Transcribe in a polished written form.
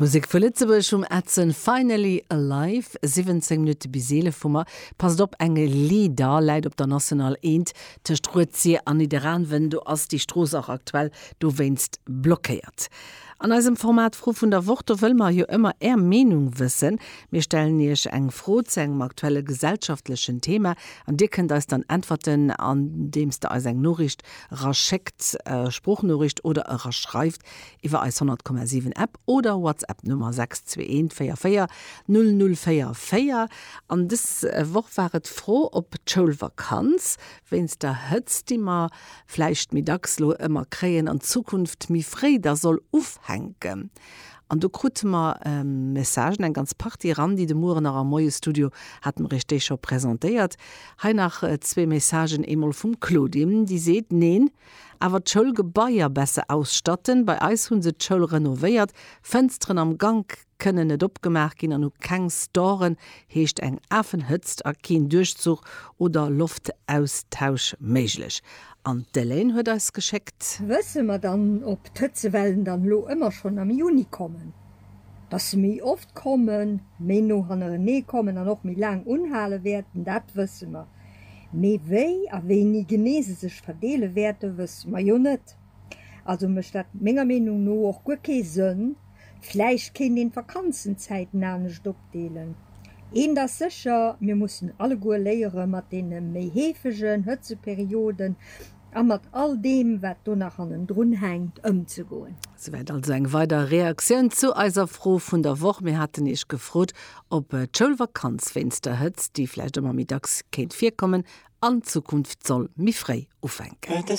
Musek vu Lëtzebuerg vum Edson, Finally Alive. 17 Minutte bis 11 hu mer. Passt op, eng Leeder läit op der National 1 tëscht Rued-Sir an Nidderaanwen. Do ass déi Strooss och aktuell dowéinst blockéiert. An eisem Format Fro vun der Woch, do wëlle mer jo ëmmer Är Meenung wëssen. Mir stellen Iech eng Fro zu engem aktuelle gesellschaftlechen Thema an Dir kënnt eis dann äntwerten, andeems Der eis eng Noriicht eraschéckt, Sproochnoriicht, oder eraschreift iwwer eis 100,7 App oder WhatsApp Nummer 621 44 0044. An dës Woch war et d'Fro, ob d'Schoulvakanz wéinst der Hëtzt, déi mer vläicht méi dacks lo ëmmer kréien, an Zukunft méi fréi da soll ufänken. An do krute mer Messagen, eng ganz Partie eran, déi de Mueren nach am Moie-Studio hate mer iech déi scho presentéiert. Hei nach zwee Messagen, eemol vum Claudine, déi seet, Neen, awer d'Schoulgebaier besser ausstatten. Bei eis hu se d'Schoul renovéiert, Fënsteren am Gank kënnen net opgemaach ginn an hu keng Storen, heescht eng Afenhëtzt a keen Duerchzuch oder Loftaustausch méiglech. An d'Elaine huet eis geschéckt. Wësse mer dann, ob d'Hëtzewellen dann elo ëmmer schonn am Juni kommen? Dass se méi oft kommen, méi no hannerenee kommen an och méi laang unhale wäerten, dat wësse mer. Mee wéi a wéini genee se sech verdeele wäerten, wësse mer jo net. Also mécht dat menger Meenung no och guer kee Sënn. Vläicht kéint een d'Vakanzenzäiten anescht opdeelen. Eent ass sécher, mir mussen alleguer léiere mat deene méi heefegen Hëtzeperioden a mat all deem wat do nach hannendrun hänkt ëmzegoen. Souwäit also eng weider Reaktioun zu eiser Fro vun der Woch. Mir haten Iech gefrot, ob d'Schoulvakanz wéinst der Hëtzt, déi vläicht ëmmer méi dacks kéint virkommen, an Zukunft soll méi fréi ufänken.